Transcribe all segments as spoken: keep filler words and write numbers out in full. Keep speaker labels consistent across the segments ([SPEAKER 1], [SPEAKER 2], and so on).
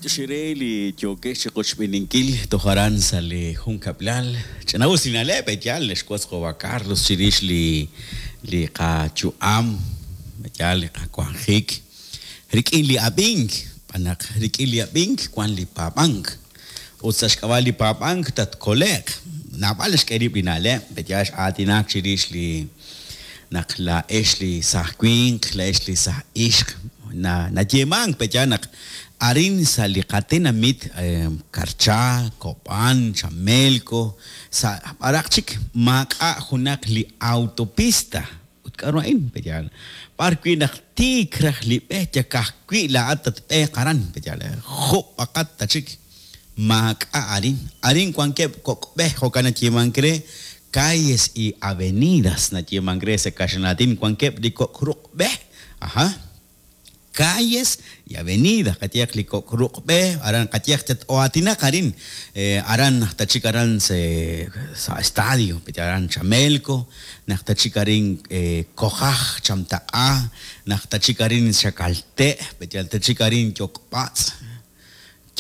[SPEAKER 1] B'antiox re li yookex chi qochb'eeninkil toj aran sa' li junkab'lal. Ch'ina'us li na'leb' yaal xwotz qawa' Carlos chirix li li qayu'am, yaal li qawanjik rik'in li ab'ink, b'anaq rik'in li ab'ink wan li paab'ank. Ut sa' xk'ab'a' li paab'ank tatkole'q. Naab'al xk'e rib' li na'leb', yaal x'aatinak chirix li naq laa'ex li saj winq, laa'ex li saj ixq, na nayeemank pe'yaal naq arin sa' li qatenamit Karcha, Kob'an, Chamelco, sa' b'araq chik maak'a' junaq li autopista. Ut k'a'ru a'in pe'yaal b'ar wi' naq tiik raj li b'e yakajwi' laa'at tatb'eeq aran pe'yaal jub'aqat ta chik maak'a' arin. Arin wankeb' kok' b'e jo'kan nayeemank re calles y avenidas nayeemank re sa' kaxlan wankeb' li kok' ruq' b'e. Aja. Calles y avenidas qayehaq li kok' ruq' b'e aran qayehaq tat-oatinaq arin aran naq tachik aran sa' estadio aran Chamelco naq tachik arin Kojaj Chamtaq'a naq tachik arin Xakalte' pe'yaal tachik arin Yok'b'atz'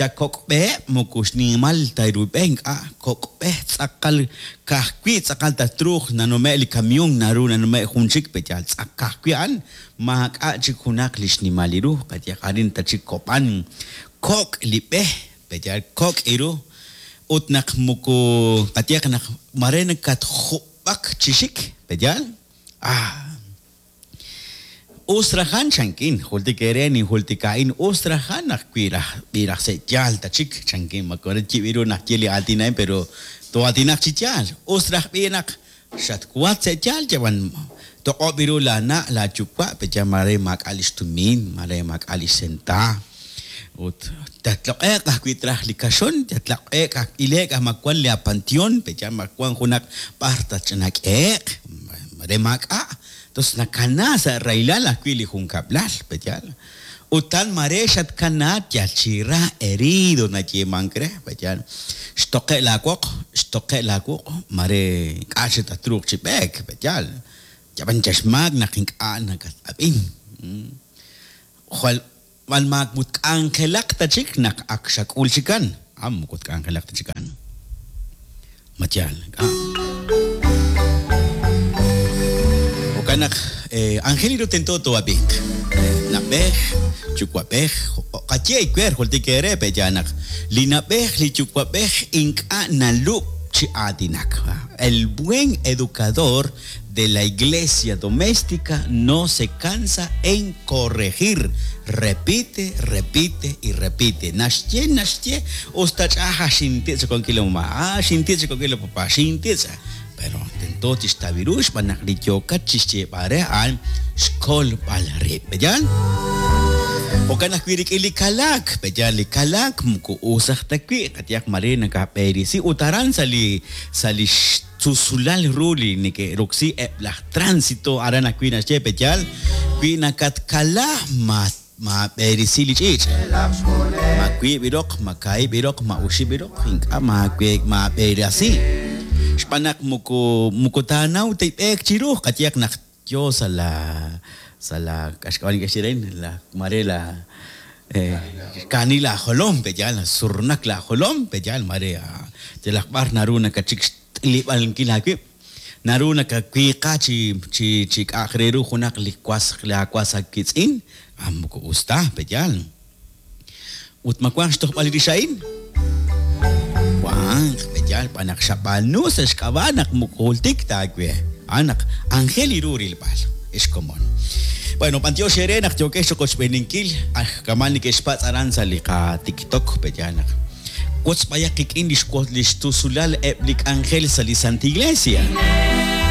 [SPEAKER 1] ya kok' b'e moko xnimal ta ru b'e ink'a' kok' b'e tz'aqal kajwi' tz'aqal tatruuq nanume' li camión naru nanume' jun chik pe'yaal tz'akajwi' a'an maak'a' chik junaq li xnimal li ru qayehaq arin tachik Kob'an kok' li b'e pe'yaal kok' iru ut naq moko qayehaq naq mare nakatjub'ak chi xik pe'yaal ah Usrajan chankin, jultik ere ninjultika'in usrajan naq wi raj b'iraj se' yaal ta chik chankin makore yib'iru naq ye li aatin pero toatinaq chi yaal usraj b'i naq xatwat se' yaal yawan toq'ob' iru la na' la yuwa' pe'yaal mare maak'a' li xtumin mare maak'a' li xsenta ut tatloq'e'q ajwi' traj li kaxon tatloq'e'q aj ile'k aj mawan li apanteón pe'yaal mawan junaq b'ar tatch'anak'e'q mare maak'a'. Entonces nakana sa' raylal ajwi' li junkab'lal pe'yaal ut tan mare xatkana yal chi ra herido nayeemank re pe'yaal xtoqe' laawoq xtoqe' laawuq' mare ink'a' chik tatruuq chi b'eek pe'yaal yab'an chaxmaak naq ink'a' nakatab'in jwal b'an maak mut k'anjelaq ta chik naq ak xak'ul chikan ah moko tk'anjelaq ta chikan ma yaal ink'a' Naq Angelino tento toab'ink nab'ej yuwa'b'ej qaye iwer jultik ere pe'yaal naq li nab'ej li yuwa'b'ej ink'a' nalub' chi aatinak. El buen educador de la iglesia doméstica no se cansa en corregir. Repite, repite y repite. Naxye, naxye, usta ch'aja xintitz konkilo mamá, ah, xintitz konkilo papá, xintitz. Pero tento tixtawiru xb'aan naq li yookat chixyeeb'al re a'an xkolb'al rib'. Pe'yaal? Jo'kan ajwi' rik'in li kalaak, pe'yaal li kalaak moko us aj ta wi' qayehaq mare nakab'erisi ut aran sa' li sa' li xtusulal ru li neke'roksi eb' laj tránsito aran ajwi' naxye pe'yaal wi nakatkala ma maab'erisi li ch'iich' ma wiib' iroq ma kaahib' iroq ma oxib' iroq ink'a' maawe maab'erasi xb'aan naq moko moko taanaw tib'eek chiru qayehaq naq yo sa' la sa' la k'axk'ab'al neke'xye la mare la kaani la jolom pe'yaal surnak la jolom pe'yaal mare yalaq b'ar naru nakachik xt'ilib'ankil aawib' naru nakawiiqa chi chi chi k'a'aq re ru junaq li was la was akitz'in ah moko us ta pe'yaal ut ma wanq xtojb'al rix a'in wanq pe'yaal b'an naq xab'aanu sa' xk'ab'a' naq moko jultik ta aawe ah naq Angel iru rilb'al xkomon. Bueno, b'antiox ere naq yookex choqochb'eeninkil aj kamal neke'xpatz' aran sa' li qaTikTok pe'yaal naq wotz b'ayaq qik'in li xwotz li xtusulal eb' li k'anjel sa' li Santa Iglesia.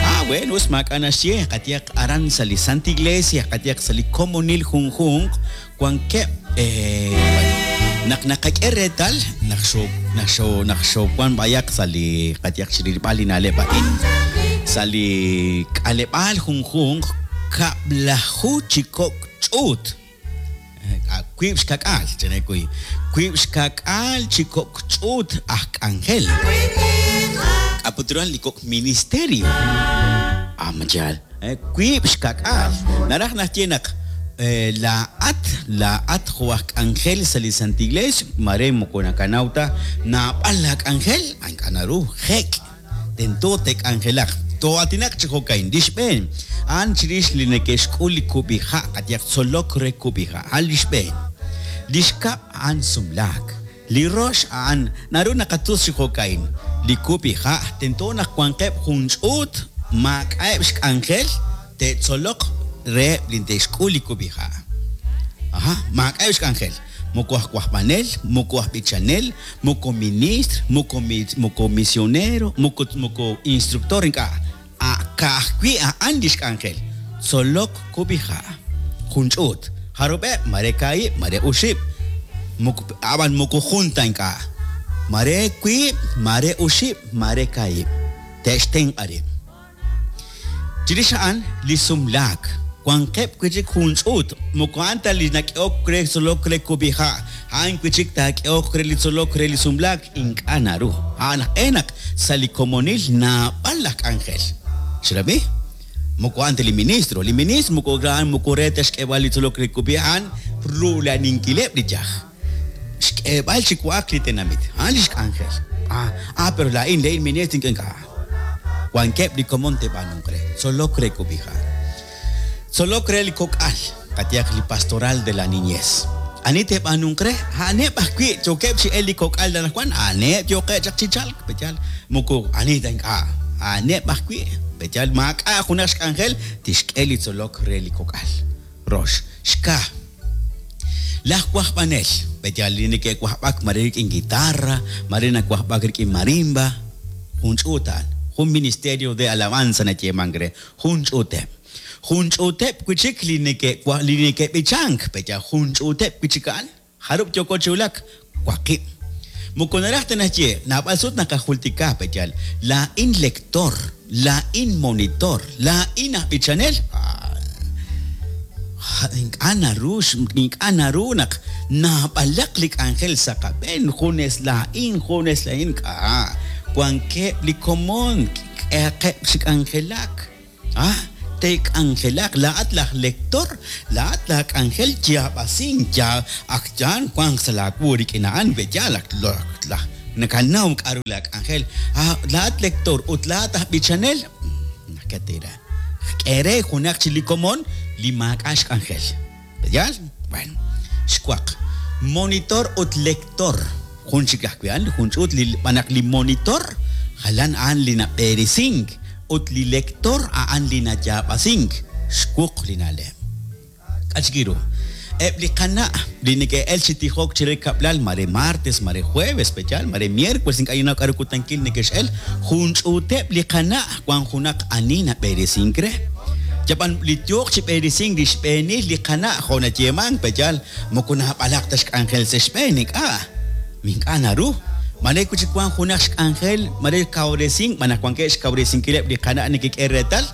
[SPEAKER 1] Ah, bueno, us maak'a' naxye qayehaq aran sa' li Santa Iglesia qayehaq sa' li komonil junjunq wankeb' eh, bueno, naq naqak'e reetal naq xo naq xo naq xowan b'ayaq sa' li qayehaq chirilb'al li na'leb' a'in sa' li k'aleb'aal junjunq kab'laju chi kok' ch'uut wiib' xkak'aal chene kuy wiib' xkak'aal chi kok' ch'uut aj k'anjel k'aputuran li kok' ministerio ah mayaal wiib' xkak'aal naraj naxye naq Laa'at, laa'at jo' aj k'anjel sa' li Santa Iglesia, mare moko nakanaw ta naab'al la k'anjel, ink'a' naru jek' tento te'k'anjelaq. Toatinaq chi jo'kain, li xb'een, a'an chirix li neke'xk'ul li kub'iha', qayaq tzolok re kub'iha', a'an li xb'een. Li xkab' a'an sumlaak. Li rox a'an naru naqatus chi jo'kain. Li kub'iha' tento naq wanqeb' jun ch'uut maak'a'eb' xk'anjel te'tzoloq re li te'xk'ul li kub'iha'. Aha, maak'a'eb' xk'anjel. Moko aj wajb'anel, moko aj b'ichanel, moko ministr, moko moko misionero, moko moko instructor ink'a'. Ka'ajwi' a'an li xk'anjel. Tzolok kub'iha'. Jun ch'uut. Jarub'eb', mare kaahib', mare uxib'. Ab'an moko junta ink'a'. Mare wiib', mare uxib', mare kaahib'. Te'xtenq'a rib'. Chirix a'an li sumlaak. Wanqeb' wi' chik jun ch'uut. Moko a'an ta li nak'ehok re tzolok re kub'iha'. A'an wi' chik taak'ehok re li tzolok re li sumlaak ink'a' naru. A'an aj sa' li komonil naab'al laj k'anjel. Xrab'i? Moko a'an ta li ministro. Li ministro moko a'an moko re ta xk'eb'al li tzolok re kub'iha' a'an rulaninkileb' li yaj. Xk'eb'al chi wa'ak li tenamit. A'an li xk'anjel. Ah, ah, pero laa'in le'in ministro ink'a'. Wankeb' li komon te'b'aanunq re. Tzolok re kub'iha'. Tzolok re li kok'al, qayaq li pastoral de la niñez. Ani te'b'aanunq re? A'aneb' ajwi' yookeb' chi el li kok'al anaqwan, a'aneb' yookeb' chaq chi chalk, peyal. Moko ani ta ink'a'. A'aneb' ajwi', peyal maak'a' junaq xk'anjel tixk'e li tzolok re li kok'al. Rox, xka. Laj wajb'anel, peyal li neke'wajb'ak mare rik'in guitarra, mare nawajb'ak rik'in marimba, jun ch'uut a'an, jun ministerio de alabanza nayeemank re, jun ch'uuteb'. Jun ch'uuteb' wi' chik li neke' li neke'b'ichank, peya jun ch'uuteb' wi' chik a'an, jarub' yooko chi wulak, waqib'. Moko naraj ta naxye, naab'al sut naqajultika, peyal, laa'in lector, laa'in monitor, laa'in aj b'ichanel. Ink'a' naru, ink'a' naru naq naab'alaq li k'anjel sa' qab'een, junes laa'in, junes laa'in, k'a. Wankeb' li komon, k'ehaqeb' chi k'anjelak. Ah, te'k'anjelaq, laa'at laj lector, laa'at la k'anjel yaab'asink, ya ak yan wanq sa' laawu rik'in a'an, b'eyal ak laj nakanaw k'aru la k'anjel. Ah, laa'at lector ut laa'at aj b'ichanel, nakatira. K'e re junaq chi li komon li maak'a' xk'anjel. B'eyal? Bueno, xwaq. Monitor ut lector. Jun chik ajwi' a'an, jun ch'uut li b'anaq li monitor, jalan a'an li nab'eresink ut li lector a'an li nayaab'asink. Xwuq li na'leb'. K'a chik ru. Eb' li qana' li neke'el chi tijok chire kab'lal mare martes, mare jueves, peyal, mare miércoles, ink'a' ninnaw k'aru kutankil neke'x'el, jun ch'uuteb' li qana' wan junaq ani nab'eresink re. Yab'an li yooq chi b'eresink li xb'eenil li qana' jo' nayeemank, peyal, moko naab'alaq ta xk'anjel sa' xb'een, ink'a'. Ink'a' naru. Mare wi' chik wan junaq xk'anjel, mare kawresink, b'anaq wankeb' xkawresinkileb' li qana' nekek'e reetal,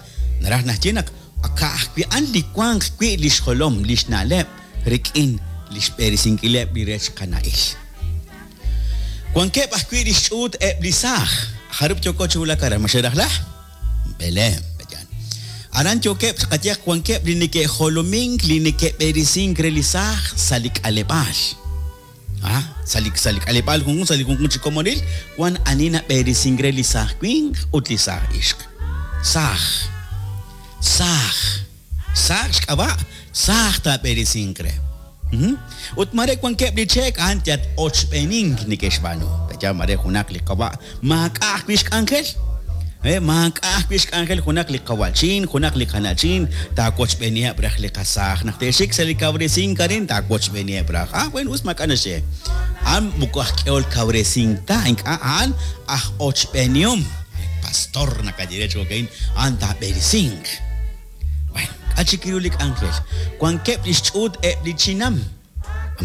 [SPEAKER 1] naraj naxye naq ka'ajwi' a'an li wanq wi' li xjolom, li xna'leb' rik'in li xb'eresinkileb' li rech qana'il. Wankeb' ajwi' li xch'uut eb' li saaj. Jarub' yooko chi wulak aran, ma xerajla? B'eleem, peyan. Aran yookeb' qayaq wankeb' li neke'jolomink, li neke'b'eresink re li saaj sa' li k'aleb'aal. Ah, sa' li sa' li k'aleb'aal junjun, sa' li junjun chi komonil, wan ani nab'eresink re li saaj winq ut li saaj ixq. Saaj. Saaj. Saaj xk'ab'a', saaj taab'eresink re. Ut mare wankeb' li cheek a'an yat ochb'eenink neke'xb'aanu. Peya mare junaq li qawa' maak'a' ajwi' xk'anjel. Eh, maak'a' ajwi' xk'anjel junaq li qawa'chin, junaq li qana'chin, taawochb'eeniheb' raj li qasaaj. Naq te'xik sa' li kawresink arin, taawochb'eeniheb' raj. Ah, bueno, us maak'a' naxye. A'an moko aj k'ehol kawresink ta, ink'a' a'an aj ochb'eenihom. Pastor naqaye re chi jo'kain, a'an taab'eresink. Bueno, k'a chik ru li k'anjel. Wankeb' li xch'uut eb' li chinam.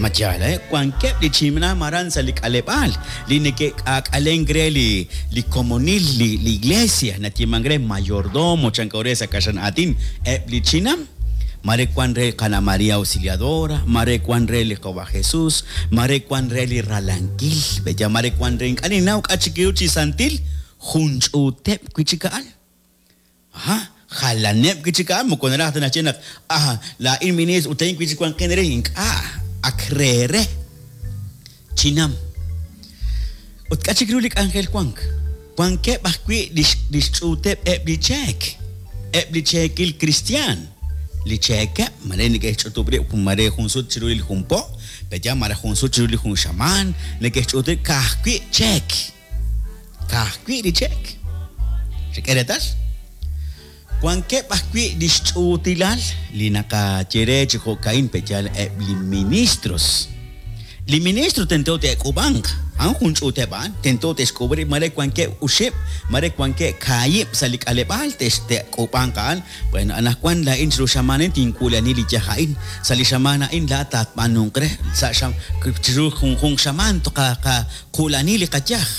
[SPEAKER 1] Ma yaal, eh? Wankeb' li chinam aran sa' li k'aleb'aal, li neke'k'aak'alenk re li, li komonil, li, li iglesia, nayeemank re mayordomo, chanko re sa' kaxlan aatin, eb' li chinam. Mare wan re Qana María Auxiliadora, mare wan re li Qawa Jesús, mare wan re li Ralankil, beya mare wan re ink'a' ninnaw k'a chik ru chi santil, jun ch'uuteb' wi' chik a'an. Aha, Jalaneb' wi' chik a'an, moko naraj ta naxye naq ah, laa'in ministro ut a'in wi' chik wanqin re, ink'a', ak re re. Chinam. Ut k'a' chik ru li k'anjel wank? Wankeb' ajwi' li xch'uuteb' eb' li cheek, eb' li cheekil kristiaan, li cheekeb', mare neke'xch'utub' rib' mare jun sut chiru li jun po, pe'yaal mare jun sut chiru li jun xamaan, neke'xch'utub' ka'ajwi' cheek. Ka'ajwi' li cheek. Xek'e reetal? Wankeb' ajwi' li xch'uutilal li naqaye re chi jo'ka'in pe'yaal eb' li ministros. Li ministro tento te'k'uub'anq, a'an jun ch'uuteb' a'an, tento te'xk'uub' rib' mare wankeb' oxib', mare wankeb' kaahib' sa' li k'aleb'aal te'k'uub'anq a'an. Bueno, anaqwan laa'in chiru xamaan a'in tinwula'ani li yaj a'in, sa' li xamaan a'in laa'at taatb'aanunq re, sa' chiru junjunq xamaan toqaqula'ani li qayaj.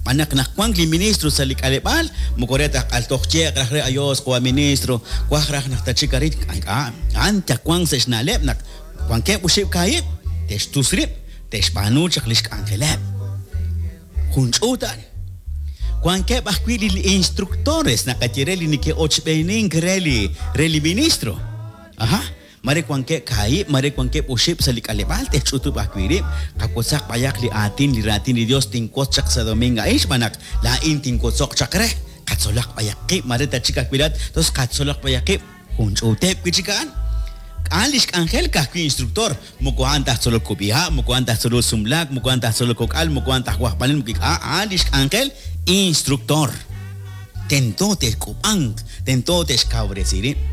[SPEAKER 1] B'anaq naq wank li ministro sa' li k'aleb'aal, moko re ta q'altoj yeeq raj re ayos qawa' ministro, waj raj naq tachik arin, ink'a', a'an tawanq sa' xna'leb' naq wankeb' oxib' kaahib', te'xtus rib', te'xb'aanu chaq li xk'anjeleb'. Jun ch'uut a'an. Wankeb' ajwi' li instructores naqaye re li neke'ochb'eenink re li re li ministro. Aha. Mare wankeb' kaahib', mare wankeb' oxib' sa' li k'aleb'aal te'xch'utub' ajwi' rib', qawotzaq b'ayaq li aatin, li raatin li Dios tinwotz chaq sa' domingo a'in xb'aan naq laa'in tinwotzoq chaq re, qatzolaq b'ayaq qib', mare tachik ajwi' laa'at, tos qatzolaq b'ayaq qib', jun ch'uuteb' wi' chik a'an. A'an li xk'anjel ka'ajwi' instructor, moko a'an taj tzolok kub'iha', moko a'an taj tzolok sumlaak, moko a'an taj tzolok kok'al, moko a'an taj wajb'anel, moko a'an li xk'anjel instructor. Tento te'k'uub'anq, tento te'xkawresi rib'.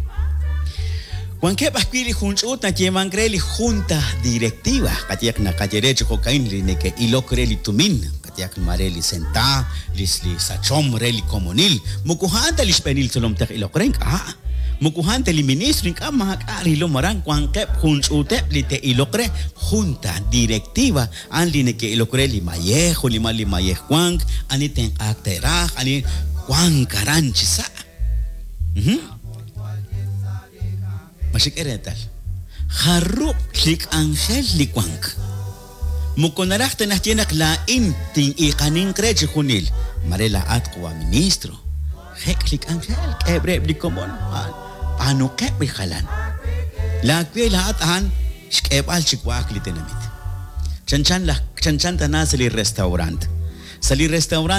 [SPEAKER 1] Wankeb' ajwi' li jun ch'uut nayeemank re li junta directiva, qayehaq naqaye re chi jo'ka'in li neke'ilok re li tumin, qayehaq mare li senta, li li sachom re li komonil, moko a'an ta li xb'eenil tzolom tej iloq re, ink'a'. Moko a'an ta li ministro, ink'a' maak'a' rilom aran, wankeb' jun ch'uuteb' li te'ilok re junta directiva, a'an li neke'ilok re li mayej, jun li mal li mayej wank, ani tenq'aak te'raj, ani wank aran chi sa'. Ma xek'e reetal? Jarub' li k'anjel li wank. Moko naraj ta naxye naq laa'in tin'iiqaninq re chi junil, mare laa'at qawa' ministro. Jek' li k'anjel, k'eeb' reheb' li komon, b'aanuqeb' li jalan. Laawe laa'at a'an xk'eeb'al chi wa'ak li tenamit. Chanchan laj chanchan tana sa' li restaurant. Sa' li restaurant